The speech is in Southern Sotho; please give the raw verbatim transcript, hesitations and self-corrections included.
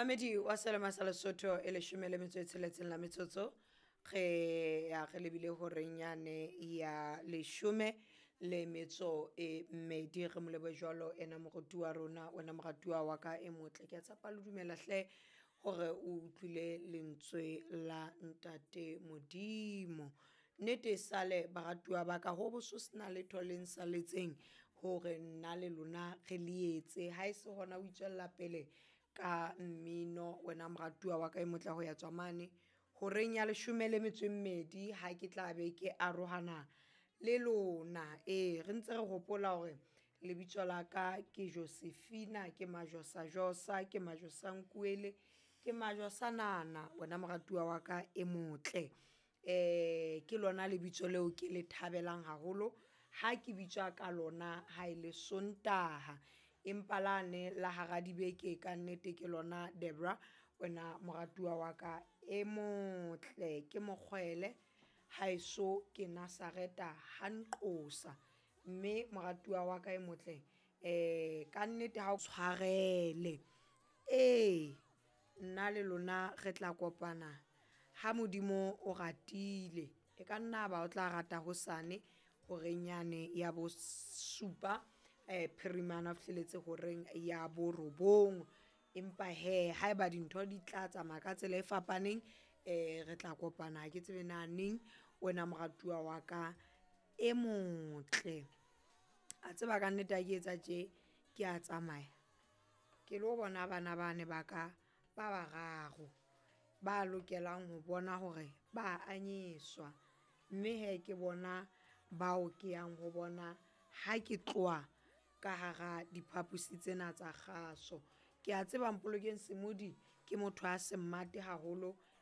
Mamedi wa Selema sa Lesotho, e leshome le metso e tsheletseng la metsotso re ya re lebile horeng yane ya leshome le metso e mmedi. Re molebo jwalo ena moruti wa rona, wena moratuwa wa ka e motle. Ke a tshepa le dumela hle hore o utlwile lentswe la ntate Modimo. Nnete e sale baratuwa ba ka ho bo so sena letho le nsaletseng hore nna le lona re le etse. Ha e se hona o itswella pele ka mmino wena moratuwa wa ka e motle ho ya tswa mane horeng ya leshome le metso e mmedi. Ha ke tla be ke arohana le lona, ee re ntse re hopola hore lebitso la ka ke Josephina, ke Majosa-Josa, ke Majosankuele, ke Majosanana wena moratuwa wa ka e motle. Eh ke lona lebitso leo ke le thabelang haholo ha ke bitswa ka lona ha e le Sontaha, empa lane la hara dibeke ka nnete ke lona Debra wena moratuwa wa ka e motle. Ke mokgwele haeso ke Nazareta ha nqosa, mme moratuwa wa ka e motle eh ka nnete ha o tshwarele. Ee nna le lona re tla kopana ha Modimo o ratile, e ka nna ba o tla rata hosane horeng yane ya bosupa eh phirimana ho fihlelletse horeng ya borobong. Empa hee haeba dintho di tla tsamaya ka tsela e fapaneng, eh re tla kopana ha ke tsebe na neng wena moratuwa wa ka e motle. A tseba ka nnete ha ke etsa tje ke a tsamaya ke lo bona bana bane ba ka ba bararo, ba lokelang ho bona hore ba anyeswa. Mme hee ke bona bao ke yang ho bona ha ke tloha ka hara diphapusi tsena tsa kgaso. Ke a tseba Mpolokeng Semodi ke motho a se mmate haholo.